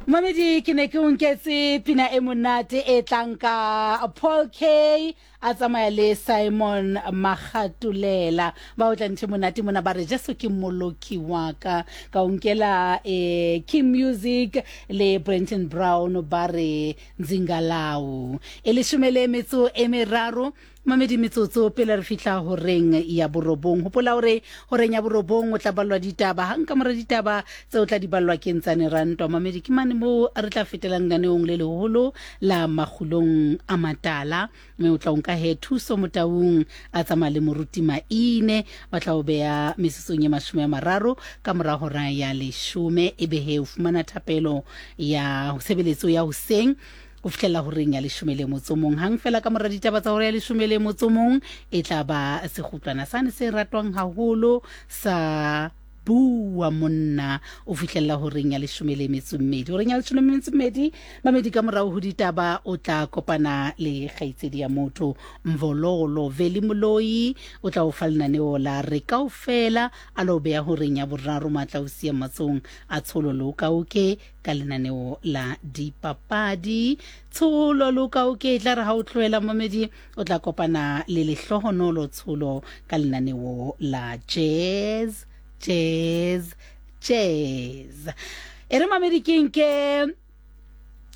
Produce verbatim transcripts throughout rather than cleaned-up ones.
Mamedi, ke ne ke o nketse pina e monate e tlang ka Paul K a tsamaya le Simon Magatulela. Ba o tla ntho e monate mona, ba re Jesu ke mmoloki wa ka. Ka o nkela eh, King Music le Brenton Brown, ba re Nzingalau. E leshome le metso e meraro, mamedi, metsotso pele re fihla horeng ya borobong. Hopola hore horeng ya borobong o tla ballwa ditaba. Hang ka mora ditaba tse o tla di ballwa ke Ntsane Rantwa. Mamedi, ke mane moo re tla fetelang lenaneong le leholo la Makgulong a Matala, mme o tla o nka he Thuso Motaung a tsamaya le Moruti Maine. Ba tla o beya metsotsong e mashome a mararo ka mora hora ya leshome, ebe he o fumana thapelo ya tshebeletso ya hoseng ho fihlela horeng ya leshome le motso mong. Hang fela ka mora ditaba tsa hora ya leshome le motso mong, e tla ba sekgutlwana sane se ratwang haholo sa Bua Monna o fihlella horeng ya leshome le metso mmedi. Horeng ya leshome le metso mmedi, mamedi, ka morao ho ditaba o tla kopana le kgaitsedi ya motho Mvololo Veli Moloi, o tla o fa lenaneo la Re Kaofela. A lo beya horeng ya boraro, matla o siya matsong a Tsholo Lokaoke ka lenaneo la dipapadi. Tsholo Lokaoke e tla re ha o tlohela, mamedi, o tla kopana le Lehlohonolo Tsholo ka lenaneo la Jazz Jazz Jazz. E re, mamedi, ke nke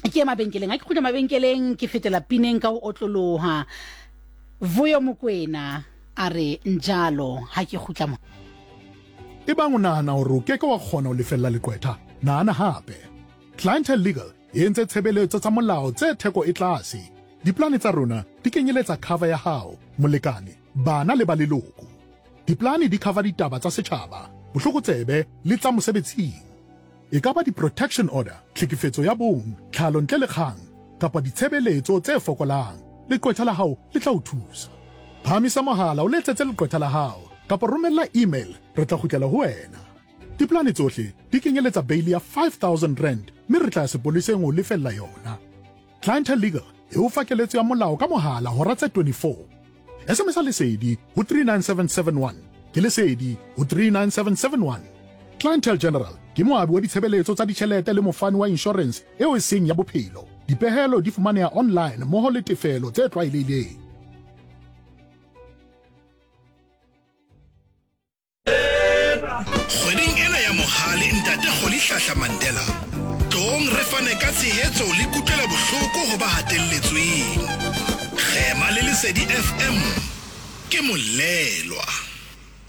ke ye mabenkeleng. Ha ke kgutla mabenkeleng, ke fetela pineng ka ho otloloha. Vuyo Mokwena a re Njalo. Ha ke kgutla mo Ebang o nahana hore o keke wa kgona ho lefella leqwetha, nahana hape. Clientele Legal e entse tshebeletso tsa molao tse theko e tlase. Diplane tsa rona di kenyeletsa cover ya hao, molekane, bana le ba leloko. Diplane di cover ditaba tsa setjhaba, bohlokotsebe le tsa mosebetsing. E ka ba di-protection order, tlhekefetso ya bong, tlhalo ntle le kgang, kapa ditshebeletso tse fokolang. Leqwetha la hao le tla o thusa. Phahamisa mohala o letsetse leqwetha la hao kapa romella email, re tla kgutlela ho wena. Diplane tsohle di kenyeletsa bail ya five thousand rand, mme re tla ya sepoleseng ho lefella yona. Clientele Legal e o fa keletso ya molao ka mohala hora tse twenty-four. S M S Lesedi ho three nine seven seven one. Ke Lesedi ho three nine seven seven one. Clientele General ke moabi wa ditshebeletso tsa ditjhelete le mofani wa insurance eo e seng ya bophelo. Dipehelo di fumaneha online mmoho le tefelo tse tlwaelehileng. Kgweding ena ya Mohale Ntate Rolihlahla Mandela, tloong re fane ka tshehetso le kutlwela bohloko ho ba hatelletsweng. Kgema le Lesedi F M ke molelwa.